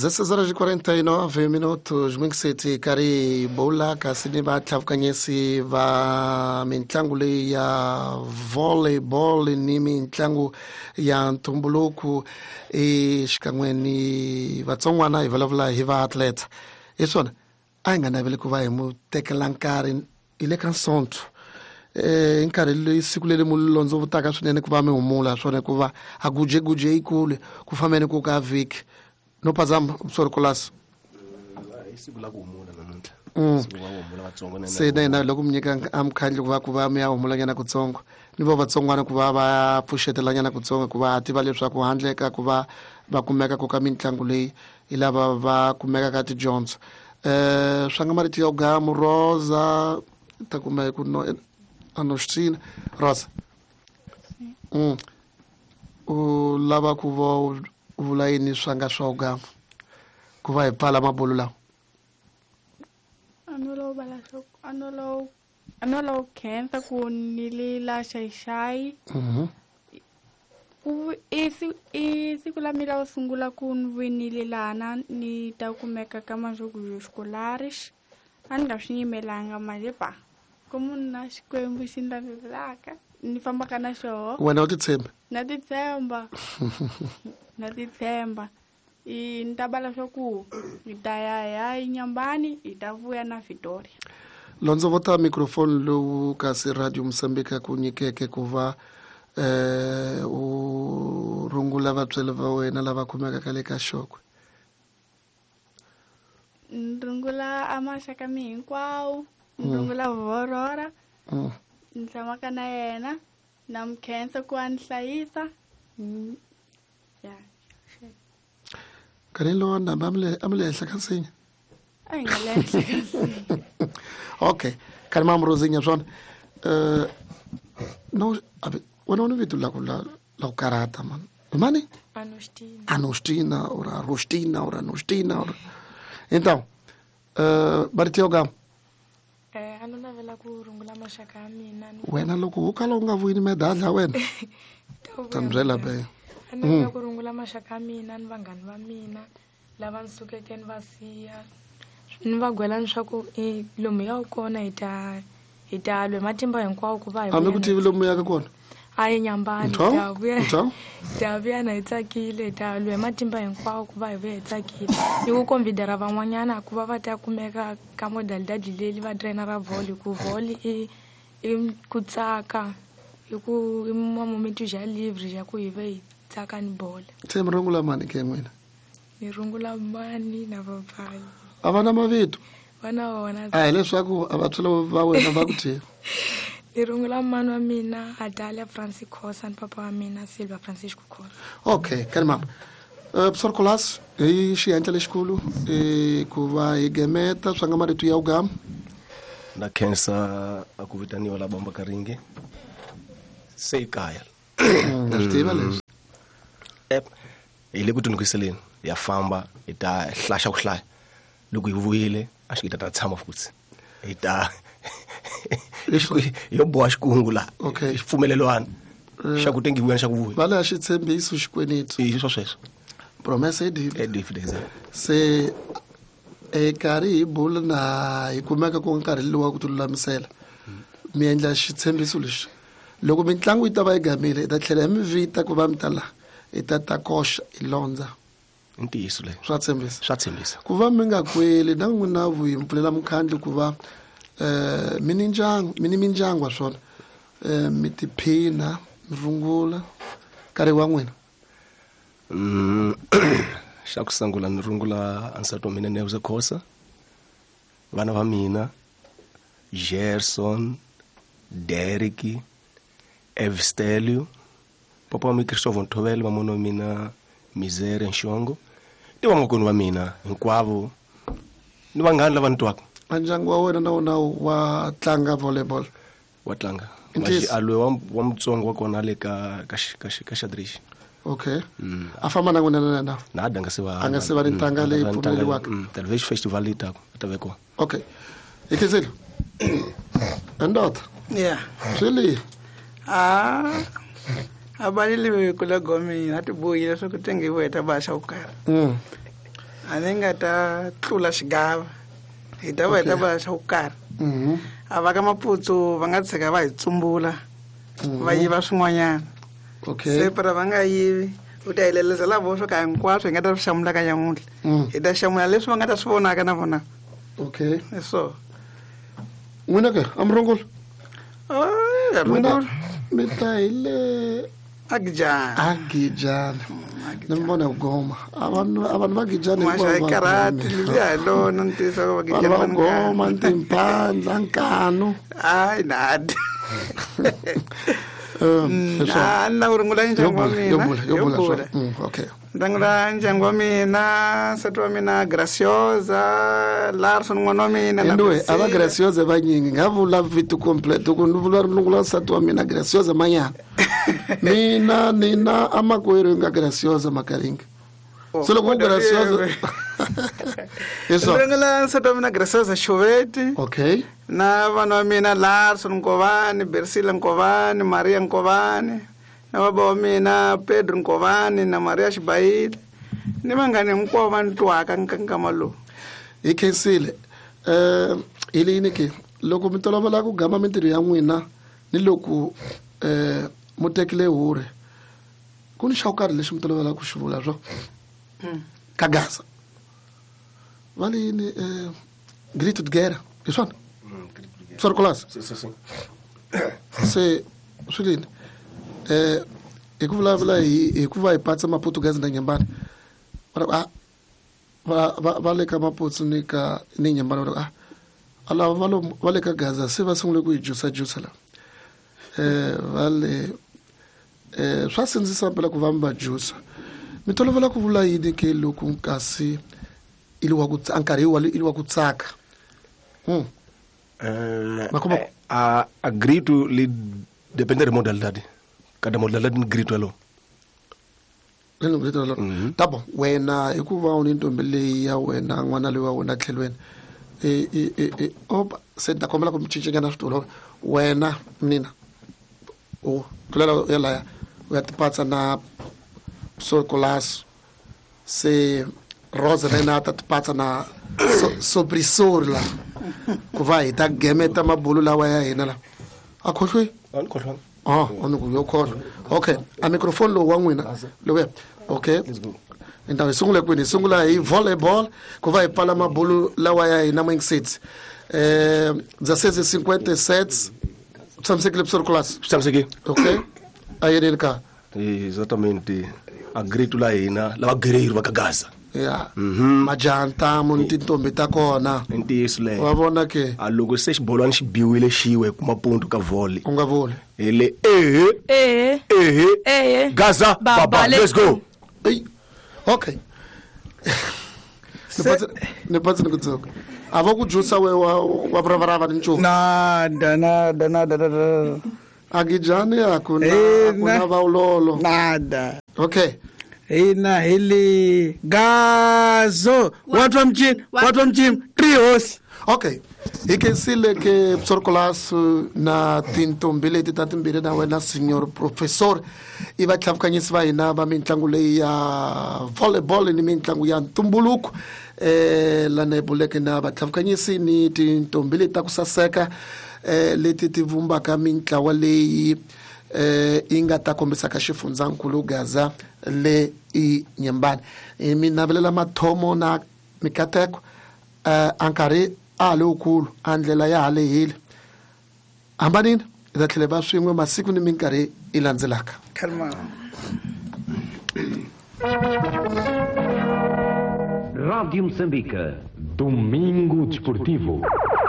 16 horas e 49 minutos Mingiseti karhi bowla kasi ni vatlhavukanyisi va mitlangu leyi ya volleyball ni mitlangu ya ntumbuluko xikan'we ni vatsongwana hi vulavula hi va-athlete hi swona a hi nga naveli ku va hi mu tekela nkarhi hi le ka nsonto hi nkarhi leyi siku leri mu londzovutaka swinene ku va mi humula swona hikuva a gujeguje yikulu ku fambeni ku ka vhiki no phazama sorry kolasi i siku la ku humula namuntlha. Siku va humula vatsongo na Se na hina loko mi nyika a mukhandlu ku va mi ya humulanyana kutsongo, ni vo vatsongwana ku va va pfuxetelanyana kutsongo, hikuva ha tiva leswaku handle ka ku va va kumeka ku ka mitlangu leyi hi lava va kumeka ka tidyondzo. Swa nga marito yo gamu Rosa ta kuma hi ku no anostina Rosa, u lava ku va u vula yini swa nga swa ugama ku va hi pfala mabulu lawa? A no lava vala swo a no lava ku khensa ku ni li la Xai-Xai. Ku i siku la mina ro sungula ku ni winile lana ni ta kumeka ka Majogos Escolares. A ni nga swi yimelanga manje pa ku munhu na Xikwembu xi ni lavelaka ni fambaka na xoho. Wena u titshembi? Na titshemba, na titshemba. I ni ta bala swa ku hi ta ya hi ya Inyambani, hi ta vuya na Victoria. Londzovota microphone lowu kasi Radio Mosambika ku nyikeke ku va u rungula vatswari va wena lava kumekaka le ka Xokwe. Ni rungula a maxaka mi hinkwawo, ni rungula Vorora ni tshamaka na yena, na mi khensa ku a ni hlayisa. Ya. Nkarhi lowu ndhambi a mi le henhla ka nsinya? A hi nga le henhla ka nsinya. Okay, khani mamurozinya swona no abe wena u ni vito la ku karata man mani. Anostina. Anostina or Arostina or Anostina or então marito yo gama. A no navela ku rungula maxaka ya mina ni Wena loko wo kala u nga vuyini medadla wena ta vuya. Ta mi byela be. A navela ku rungula maxaka ya mina ni vanghani va mina lava ni sukeke ni va siya, ni va gwela leswaku i lomu ya kona hi ta lwa hi matimba hinkwawo ku va hi Hambi vuya ku tivi lomu yaka kona. A yi Nyambani. Ntho? Hi ta vuya. Ntho? Hi ta vuya na hi tsakile, hi ta lwa hi matimba hinkwawo ku va hi vuya hi tsakile, ni ku convidera van'wanyana ku va va ta kumeka ka modalidade leli va trainer ra volley, ku volley i ku tsaka, i ku i momento ja livre ja ku hi va hi tsaka ni bola. Se mi rungula mani ke n'wina? Ni rungula mani na papayi. A va na mavito? Va na wona. A hi leswaku a vatswari va wena va ku thini? Ni rungula mani wa mina Adalia Francis Khosa ni papa wa mina Silva Francisco Khosa. Okay, kani mama professor Colas hi xihenhla lexikulu ku va hi gemeta swa nga marito ya ugama. Na khensa a ku vitaniwa la bomba karinge se i kaya. Na swi tiva leswi. Ep, hi le ku tinukiseleni ya famba, hi ta hlaxa ku hlaya loko hi vuyile a xi ta tshama futhi hi ta yo boha xikungu la. Xipfumelelwana xa ku tengiwa xa ku vuya. Va leya xitshembiso xikweneti. I swo sweswo. Promessa e dívida. É dívida, exato. Se e karhi hi bula na hi kumeka ku nkarhi lowu wa ku ti lulamisela mi endla xitshembiso lexi, loko mitlangu yi ta va yi gamile hi ta tlhela hi mi vita ku va mi ta laha hi ta ta koxa hi londza. I ntiyiso leyi. Swa tshembisa. Swa tshembisa. Ku va mi nga kweli na n'wina vuyi mi pfulela mukhandlu ku va mi ni ndyangu, mi ni mindyangu wa swona, mi tiphina, mi rungula nkarhi wa n'wina. Xa ku sungula ni rungula nsati wa mina Neuza Khosa, vana va mina Gerson, Derek, Evstelio, papa wa mina Christopher Nthovele, mamona wa mina Misere Nxongo, ni vamakwenu va mina hinkwavo ni vanghani lava ni twaka. A ndyangu wa wena na wona wa tlanga volleyball? Wa tlanga. I ntiyiso? Alwe wa mutsongo wa kona le ka xadrix. Okay, a famba na n'wina na Na a nga se va A nga se va ni ntanga leyi pfumeleriwaka. Television festival leyi taka a ta ve kona. Okay, hi khensile endoda. Swi lihi? Ah, a balile kula gomina a ti bohile swa ku tengiwa hi ta ba xa ku karhi. A ni nga ta tlula xigava hi ta va hi ta va xa ku karhi. A va ka Maputsu va nga tshika va hi tsumbula va yiva swin'wanyana. Okay. Se para va nga yivi u ta hi leleza lavo swo ka hinkwaswo hi nga ta swi hlamula ka nyamuntlha. Hi ta hlamula leswi va nga ta swi vonaka na vona. Okay. So n'wina ke a mi rongolo? N'wina mi ta hi le Agijana. Agijana. Ni mi vona goma. A vanhu va Gijana hinkwavo. Karate liya hi lona ntiyiso va Gijana. Vanhu va goma timphandla nkanu. Hayi nada. Na ku rungula ndyangu wa mina. Yo bula. Okay. Ndangula ndyangu wa mina, nsati wa mina Graciosa, Larson n'wana wa mina. Anyway, a va Graciosa vanyingi nga vula vito complete ku ni vula rungula nsati wa mina Graciosa Manyana. Mina nina amakwerhu nga Graciosa Makaringa. So loko Graciosa. Eso. Ndangula nsati wa mina Graciosa Choveti. Okay. Na vana wa mina Larson Nkovani, Bersila Nkovani, Maria Nkovani. Na baba wa mina Pedro Nkovani na Maria Xibayile ni vangani hinkwavo va ni twaka nkama lowu. Hi khensile. Hi leyini ke loko mi tolovela ku gama mintirho ya n'wina ni loko mu tekile hure ku ni xa ku karhi lexi mi tolovela ku xi vula swo ka Gaza va leyini grito de guerra hi swona swa se swi lini hi ku vulavula hi ku va hi patsa Maportuguese na Nyembani va le ka Maputsu ni ka ni Nyembani va a lava va le ka Gaza se va sungule ku hi jusa la va le swa sindzisa phela ku va mi va jusa mi tolovela ku vula yini ke loko kasi ili wa ku nkarhi ili wa ku tsaka. A grito li depende de modalidade. Cada modalidade ni grito elo. Lelo grito elo. Tá bom. Wena hikuva u ni ntombi leyi ya wena n'wana loyi wa wena tlhelweni. Opa, se ta kombela ku mi cincanyana switulu. Wena mina u tlulela ya laya u ya tipatsa na Sorcolas se Rosa na yena ta tipatsa na Sobrisor la ku va hi ta gemeta mabulu lawa ya hina la. A khohlwi? A ni khohlwanga. Yo khohlwa. Okay, a microphone lowu wa n'wina lowuya. Okay. Então hi sungula kwini? Hi sungula hi volleyball ku va hi pfala mabulu lawa ya hina Mwingisitsi. 16:57 tshamisekile Sorcolas? Tshamisekile. Okay. A yini ka? Exatamente. A grito la hina lava guerreiro va ka Gaza. Ya. Majanta mun tintombi ta kona. Ntiyiso leyo. Wa vona ke. A loko se xibolwana xi biwile xiwe kuma ponto ka volley. U nga voli. Hi le ehe. Ehe. Ehe. Ehe. Gaza baba, let's go. Ey. Okay. Ni patsi ni ku dzuka. A va ku jusa we wa vravrava ni nchumu. Nada nada nada nada. Agijani akuna vaulolo. Nada. Okay. Hina hili gazo watu wa mchini three horse. Okay. Hi khensile ke Sorcolas na tintombi leti ta timbirhi na wena signor professor i vatlhavukanyisi va hina va mitlangu leyi ya volleyball ni mitlangu ya ntumbuluko lana hi buleke na vatlhavukanyisi ni tintombi leti ta ku saseka leti ti vumbaka mintlawa leyi yi nga ta kombisaka xifundzankulu Gaza le i Nyembani. Mi navelela mathomo na mikateko a nkarhi a ha le wukulu a ndlela ya ha lehile. Hambanini hi ta tlhela va swin'we masiku ni minkarhi yi landzelaka. Rádio Moçambique, Domingo Desportivo.